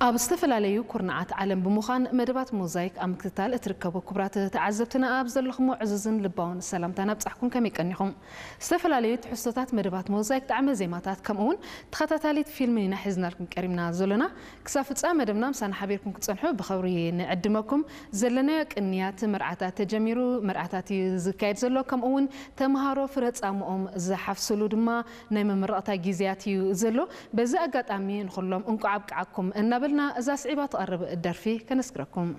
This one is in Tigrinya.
ኣብ ዝተፈላለዩ ኩርናዓት ዓለም ብምዃን መደባት ሞዛይክ ኣብ ምክትታል እትርከቡ ክቡራት ተዓዘብትና፣ ኣብ ዘለኹሞ ዕዙዝን ልባውን ሰላምታ ናብጻሕኩም። ከመይ ቀኒኹም? ዝተፈላለዩ ትሕዝቶታት መደባት ሞዛይክ፣ ጣዕመ ዜማታት፣ ከምኡ እውን ተኸታታሊት ፊልምን ኢና ሒዝናልኩም ቀሪብና ዘሎና። ክሳብ ፍጻመ መደብና ምሳና ሓቢርኩም ክትጸንሑ ብኸብሪ ንዕድመኩም። ዘለናዮ ቅንያት መርዓታት ተጀሚሩ፣ መርዓታት እዩ ዝካየድ ዘሎ። ከምኡ እውን ተምሃሮ ፍረ ጻምኦም ዝሓፍስሉ ድማ ናይ መመረቕታ ግዜያት እዩ ዘሎ። በዚ ኣጋጣሚ ንኹሎም እንቋዕ ኣብቅዓኩም እናበልና፣ እዛ ስዒባ ትቐርብ ደርፊ ከነስክረኩም።